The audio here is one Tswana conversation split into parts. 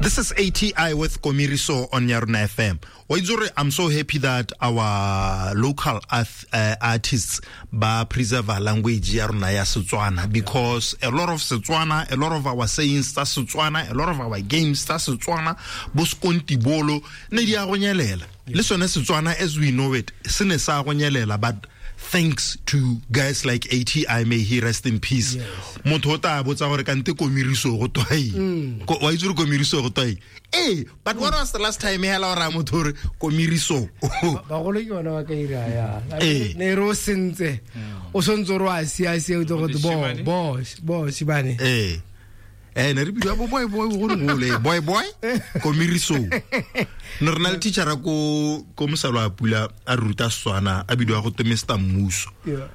This is ATI with Komiriso on Yarona FM. Waizore, I'm so happy that our local artists ba preserve our language ya rona ya Setswana, because a lot of Setswana, a lot of our sayings tsa Setswana, a lot of our games tsa Setswana, bo skontibolo ne di a go nyelela. Le sone Setswana as we know it, se ne sa go nyelela, but thanks to guys like ATI, may he rest in peace. Motho o tla botsa gore kante komiriso go twa eng? Wa itse gore komiriso go twa eng? Ee, but what was the last time hela o raya motho gore komiriso? Bagolo ke bona ba ka ira ya. Ne re o sentse. O sontse o re wa sia sia o tlo go bo bo bo shibane. Ee. Ne re bidiwa bo boy boy go gole boy boy komiriso. Ne re na le teacher ko mosalo a pula a ruta Setswana a bidiwa go te Mr Mmuso.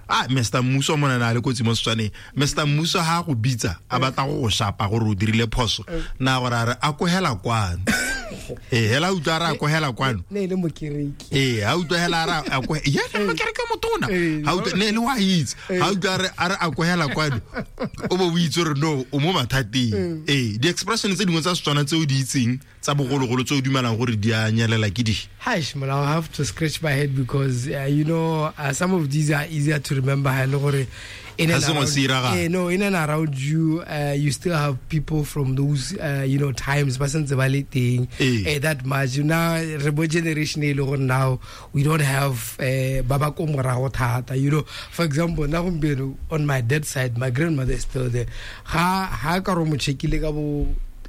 Ah, Mr Mmuso mona na le kotsi mo Setswaneng. Mr Mmuso ha go bitsa a batla go go shapa gore o dirile phoso. Na gore a re a kogela kwano. Hela utlwa a re a kogela kwano. Ne le mokereki. Ha utlwa hela a re a kogela. Ya ne mokereki o motona. Ha utlwa ne le wa itse. Ha utlwa a re a kogela kwano. O bo o itse gore no o mo mathateng. Di expression tse dingwe tsa Setswana tse o di itseng tsa bogologolo tse o dumelang gore di a nyelela ke di? Hash, man, I'll have to scratch my head because you know, some of these are easier to remember. Ha le gore in and around, no, in and around you, you still have people from those you know, times ba sentse ba le teng that much. Now re bo generation e le gore now we don't have ba ba ko morago thata, you know. For example, na gompieno on my dad's side, my grandmother is still there. Ha ka ro mo checkile ka bo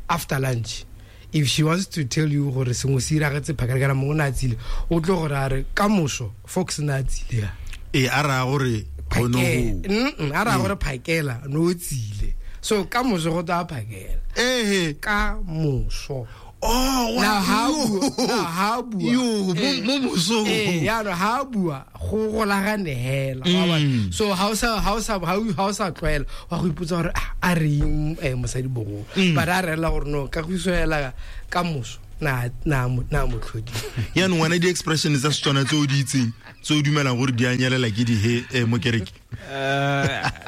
after lunch, if she wants to tell you gore sengwe se iragetse phakela kana mongwe na tsile, o tlo gore a re ka moso Fox na tsile. A ra gore a ra gore phakela no tsile. So ka moso go tla phakela. Ka moso. Oh, now ha bua. Yo, mo moso. Ya no ha bua go golagane hela. So ha o sa tlwaela wa go ipotsa gore a re mosadi bogolo. But a rela gore no ka go isoela ka moso na motlhodi. Ya no ngwana di expression tsa Setswana tse o di itseng tse o dumelang gore di a nyelela ke di he mokereki.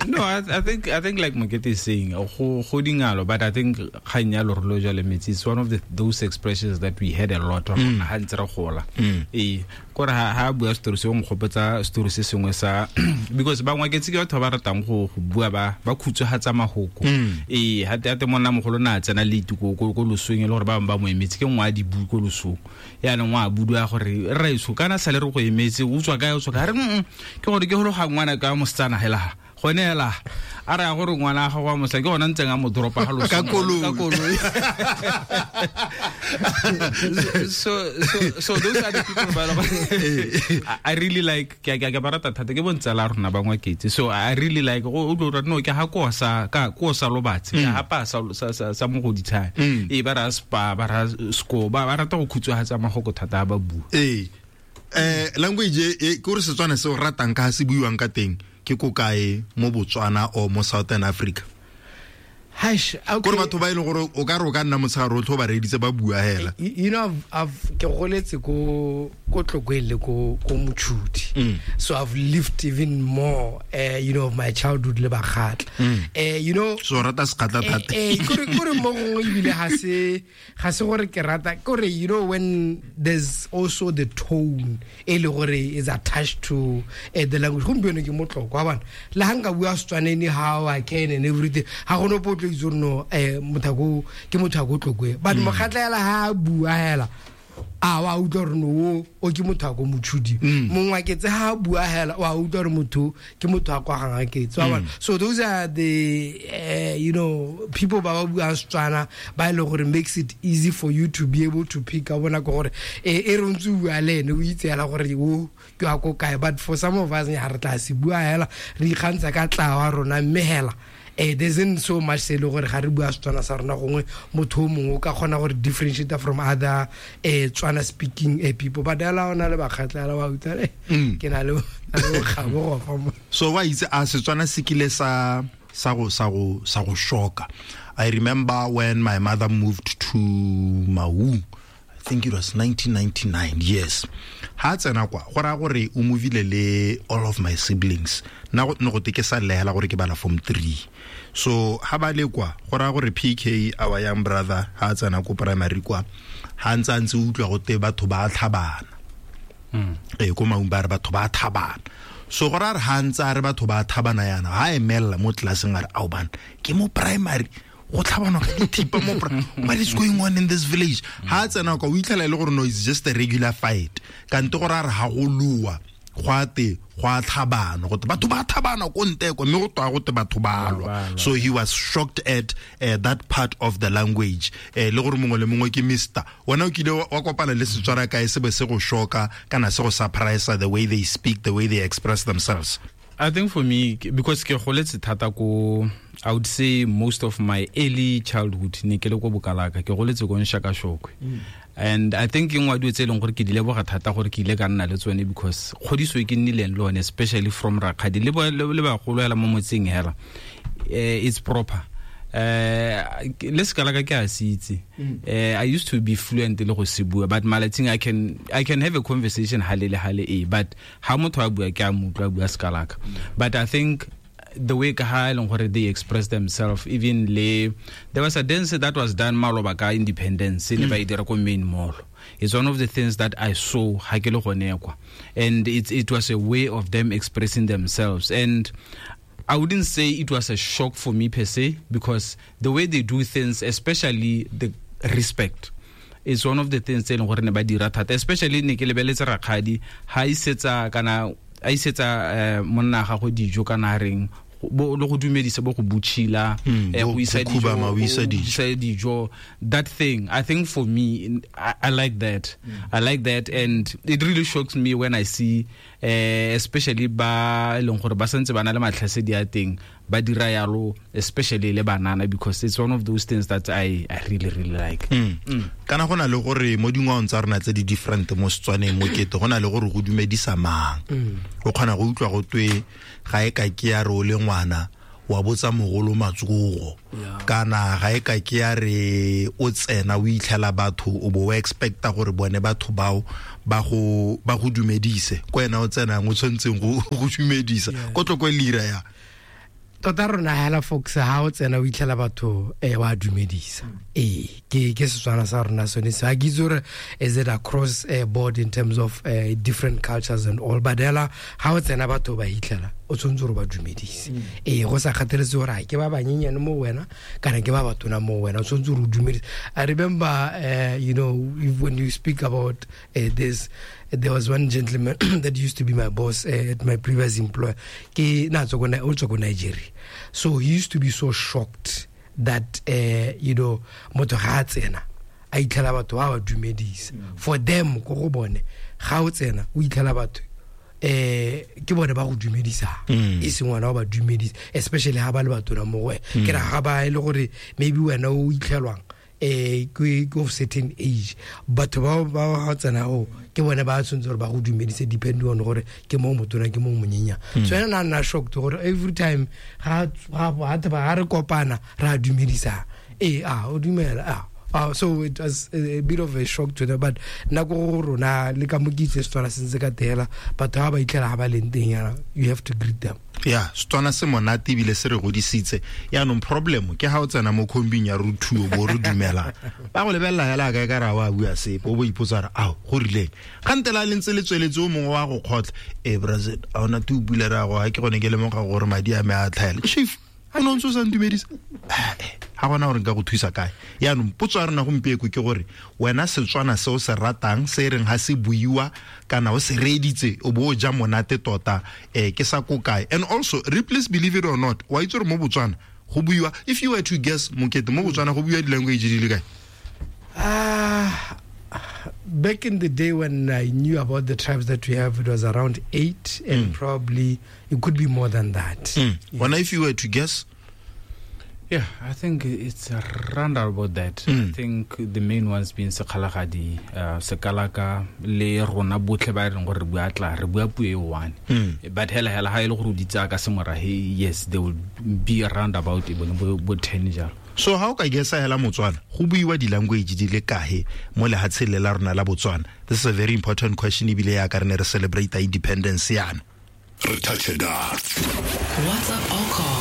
No, I think like Mokete is saying, go dingalo, but I think kgang ya lorolo jwa le metsi is one of those expressions that we had a lot of ha ntse re gola. Kore ha bua story se o nkgopotsa story se sengwe sa because bangwe ke tse ke batho ba ratang go bua ba khutsohatsa mahoko. Ha te monna mogolo na tsena le ko losong e le gore ba bangwe ba mo emetse ke nngwe a di bue ko losong. Yaanong wa budua gore rraetsho kana sale re go emetse o tswa kae o tswa kae, re ke gore ke golo ga ngwana ka mosetsana hela gone hela a re ya gore ngwana ga go mosa ke gona ntseng a mo dropa ga loso ka koloi. So those are the people ba I really like ke ba rata thata ke bontsala rona ba Ngwaketse. So I really like go o no ke ha ko sa ka ko sa lobatse ke ha pa sa sa mogoditshane ba ra spa ba ra sko ba rata go khutsohatsa magoko thata ba bua. Language e ke gore Setswana se o ratang ka se buiwang ka teng ke ko kae mo Botswana or mo Southern Africa? Hash, okay. Gore batho ba ile gore o ka re o ka nna motshegare o tlo ba reditse ba bua hela. You know, I've ke goletse ko Tlokweng le ko Mochudi. So I've lived even more you know, of my childhood le Bakgatla. You know, so rata Sekgatla thata. Kore mo gongwe ebile ga se gore ke rata kore, you know, when there's also the tone e le gore is attached to the language. Gompieno ke motlokwa bana le ha nka bua Setswana anyhow I can and everything, ha go no potlo itse no motho ke motho a go Tlokwe, but Mokgatla hela ha bua hela a wa utlwa gore no o ke motho a ko Mochudi, Mongwaketse ha bua hela wa utlwa gore motho ke motho a kwa Gangaketse. So those are the you know, people ba ba buang Setswana ba ile gore makes it easy for you to be able to pick up bona gore e re ntse bua le ene o itse hela gore o ke a ko kae. But for some of us ya re tla se bua hela re ikgantsha ka tla wa rona mme hela there isn't so much se le gore ga re bua Setswana sa rona gongwe motho o mongwe o ka kgona gore differentiate from other Tswana speaking people. But hela ona le Bakgatla hela wa utlwa ke na le bokgabo go fa mo. So wa itse a Setswana se kile sa go shoka. I remember when my mother moved to Maun. I Think it was 1999, yes. Ha tsena kwa go ra gore o movile le all of my siblings. Na go ne go te ke sa lehela gore ke bala form 3. So ha ba le kwa go ra gore PK, our young brother, ha tsena ko primary kwa, ha ntse ntse utlwa go te batho ba tlhabana. Ko Maung ba re batho ba thabana. So go ra re ha ntse a re batho ba thabana yana, ha emella mo classeng a re ao bana ke mo primary go tlhabana ka dithipa mo what is going on in this village? Ha tsena kwa o itlhela e le gore no, it's just a regular fight. Kante go ra re ha go lua go a te go a tlhabana, go te batho ba thabana ko nte kwa, mme go twa go te batho ba lwa. So he was shocked at that part of the language. Le gore mongwe le mongwe ke mister. Wena o kile wa kopana le Setswana kae se be se go shocka kana se go surprise the way they speak, the way they express themselves? I think for me, because ke goletse thata ko, I would say most of my early childhood ne ke le ko Bokalaka, ke goletse ko Nshakashokwe. And I think ke nngwe ya dilo tse e leng gore ke di leboga thata gore ke ile ka nna le tsone, because kgodiso e ke nnileng le yone, especially from rakgadi le bagolo hela mo motseng hela, it's proper. Le Sekalaka ke a se itse. I used to be fluent le go se bua, but malatsing I can have a conversation hale le hale e, but ha motho a bua ke a mo utlwa a bua Sekalaka. But I think the way ka ha e leng gore they express themselves, even le there was a dance that was done maloba ka independence ne ba e dira ko main mall. It's one of the things that I saw ha ke le gone kwa, and it was a way of them expressing themselves. And I wouldn't say it was a shock for me per se, because the way they do things, especially the respect, is one of the things tse e leng gore ne ba dira thata, especially ne ke lebeletse rakgadi ha isetsa kana a isetsa monna ga go dijo kana reng bo le go dumedisa bo go butshila, go isa dijo, that thing. I think for me, I like that. I like that, and it really shocks me when I see especially ba leng gore ba santse ba na le matlhasedi a teng ba dira yalo, especially le banana, because it's one of those things that I really really like. Kana go na le gore mo dingwaong tsa rona tse di different mo Setswaneng mo kete go na le gore go dumedisa mang. O kgona go utlwa go twe ga e ka ke ya re o le ngwana wa botsa mogolo matsogo, kana ga e ka ke ya re o tsena o itlhela batho o bo o expecta gore bone batho bao ba go dumedise, ko wena o tsenang o tshwanetseng go dumedisa ko tloko lira ya tota rona hela folks ha o tsena o itlhela batho wa dumedisa. Ke Setswana sa rona sone se. A ke itse gore is it across board in terms of different cultures and all, but hela ha o tsena batho ba itlhela o tshwanetse gore ba dumedise. Go sa kgatheletse gore ke ba banyenyane mo wena kana ke ba batona mo wena, o tshwanetse gore o dumedise. I remember you know, when you speak about this, there was one gentleman that used to be my boss at my previous employer. Ke na tswa ko Nigeria. So he used to be so shocked that you know, motho ga a tsena a itlhela batho ba ba dumedisa. For them ko go bone ga o tsena o itlhela batho ke bone ba go dumedisa, e seng wena o ba dumedisa, especially ha ba le batona mo go wena. Ke ra ga ba e le gore maybe wena o itlhelwang ke of certain age, batho ba ba tsena go ke bone ba tshwanetse gore ba go dumedise, depending on gore ke mo motona ke mo monyenya. So ena nna shocked gore every time ga ga re kopana ra dumedisa, o dumela. So it was a bit of a shock to them, but nako go rona le ka mo ke itse Setswana se ntse ka tela, batho ga ba itlhela ga ba leng teng yana, you have to greet them. Yeah, Setswana se monate ebile se re godisitse. Yaanong problem ke ha o tsena mo khombing ya ruthuo bo re dumela, ba go lebelela hela ka ka ra wa bua sepe, o bo ipotsa re ao go rileng gantela le ntse le tsweletse o mongwe wa go kgotla brazil a ona te o bula ra go ha ke gone ke lemoga gore madi a me a tlhaela. Chief, o ne o ntse o sa ntumedisa, ga gona gore nka go thusa kae. Yaanong potso ya rona gompieko ke gore wena Setswana se o se ratang se e reng ga se buiwa kana o se reeditse o bo o ja monate tota, ke sa ko kae? And also, please believe it or not, wa itse gore mo Botswana go buiwa, if you were to guess Mokete, mo Botswana go buiwa di-language di le kae? Back in the day when I knew about the tribes that we have, it was around 8, and probably it could be more than that. Yeah. If you were to guess? Yeah, I think it's around about that. I think the main ones being Sekgalagadi, Sekalaka, le rona botlhe ba reng gore re bua tla, re bua puo e one. But hela hela ha ile gore o di tsaya ka semorahe, yes, they will be around about bo 10 jalo. So ha o ka gesa hela Motswana, go buiwa di-language di le kae mo lehatsheng le la rona la Botswana? This is a very important question, ebile ya ka re ne re celebrate independence yana. Re touch it. WhatsApp or call